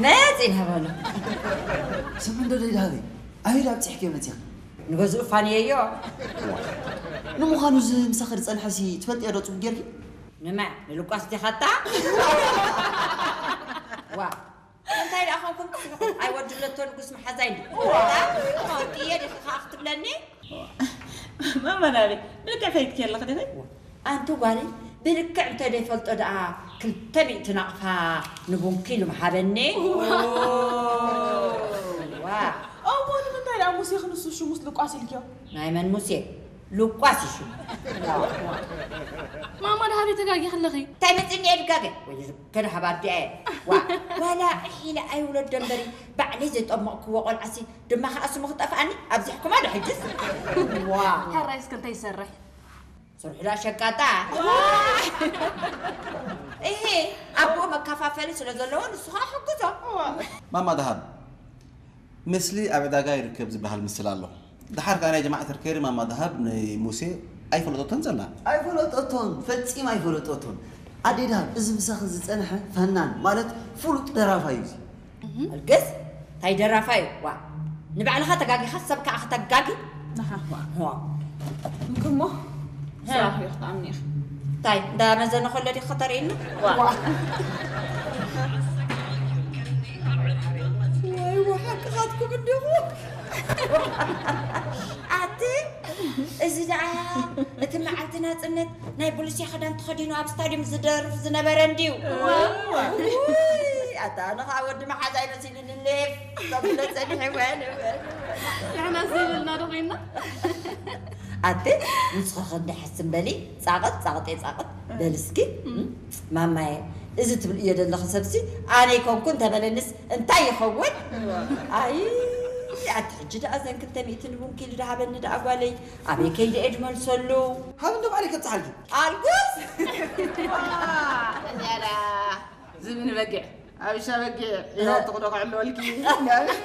መጺ ንሃበሉ። ስምዒ እንዶ ደይ ደሃበይ። ኣበይ ዳ ኣብጺሕክዮ መጺኺ? ንገዝኡ ፋንየዮ። ንምዃኑ እዚ ምሳኺ ዝጸንሐ ሲ ትፈልጥዮ ዶ ጽቡቅ ጌርኪ? ንመ ንልቋስ ዲኻታ? ዋ እንታይ ደኣ ኾንኩም ትስሕቁ? ኣይ ወዲ ለቶ ንጉስ መሓዛይ እንዲ። ዋ። ትፈልጥዮ ዲኺ ከኣ ክትብለኒ? ማማ ናበይ ብልክዕ ፈሊጥኪ ኣለኺ ዲኺ? ኣንቲ ጓለይ ብልክዕ እንተ ደይፈልጦ ደኣ ክልተ ሚእቲ ናቕፋ ንቡንኪ ኢሉ ምሃበኒ። ዋ። እሞ ንምንታይ ደኣ ሙሴ ክንሱ ሽሙስ ልቋስ ኢልክዮ? ናይ መን ሙሴ? ልቋስ እዩ ሽሙ። ማማ ደሃበይ ተጋጊኺ ኣለኺ። እንታይ መጺኒ እየ ድጋገ? ወይ ከድሃብ ኣዲኣ እየ። ዋ፣ ዋላ ዒሕ ኢለ ኣይውለዶ እምበሪ ባዕለይ ዘጠመቕክዎ ቆልዓሲ ድማ ከኣ ስሙ ክጠፍኣኒ ኣብዚሕኩማ ዶ ሕጅስ? ዋ። ሕራይ እስከ እንታይ ይሰርሕ? ስርሑ ዳ ሸቃጣ። እሄ፣ ኣቦ መከፋፈሊ ስለ ዘለዎ ንሱ ከኣ ሕግዞ። ማማ ደሃብ፣ ምስሊ ኣብ ዕዳጋ ይርከብ ዝበሃል ምስል ኣሎ። ደሓር ከኣ ናይ ጀማዓ ተርከሪ ማማ ደሃብ ንሙሴ ኣይፈለጠቶን ዘላ። ኣይፈለጠቶን፣ ፈጺም ኣይፈለጠቶን። ኣዴ ደሃብ፣ እዚ ምሳኺ ዝጸንሐ ፈናን ማለት ፍሉጥ ደራፋይ እዩ እዚ። ኣልግስ፣ እንታይ ደራፋይ እዩ? ዋ፣ ንባዕልኻ ተጋጊኻ ሰብ ከኣ ከተጋጊ? ንሓ። ዋ። እንክሞ፣ ስራሕ እዩ ክትኣምኒ ኢኺ። እንታይ፣ እንዳ መዘነ ከሎ ዲኺ ከተርእይኒ? ዋ። ወይ፣ ዋ፣ ሓቅኻትኩም እንዲኹም። ኣቲ፣ እዚ ደኣ እቲ መዓልቲ ናጽነት ናይ ቡሉስያ ክዳን ተኸዲኑ ኣብ ስታድዩም ዝደርፍ ዝነበረ እንድዩ። ዋው። ውይ፣ ኣታ ኣነ ኸዓ ወዲ መሓዛይ መሲሉኒ ሌፍ ተብሎ ጸኒሐ እየ ነበር። ንሕና ስኢንና ዶ ኾይንና? ኣቲ ንስኺ ክንዲ ሕስም በሊ፣ ጻቕጥ፣ ጻቕጤ ጻቕጥ በሊ እስኪ። ማማየ፣ እዚ ትብልዮ ዘለኺ ሰብሲ ኣነ ኣይኮንኩን ተበለንስ እንታይ ይኸውን? ኣይ፣ ኣቲ ሕጂ ደኣ ዘን ክልተ ሚእቲ ንቡንኪ ኢሉ ደሃበኒ ደኣ ጓለይ፣ ኣበይ ከይደ እየ ድመልሰሉ? ሃብኒ ባዕለይ ከብጽሓልኪ። ኣልጉስ! እንያዳ ዝብን በጊዕ፣ ኣብሻ በጊዕ፣ ኢላ ትቕዶ ክዕልወልኪ።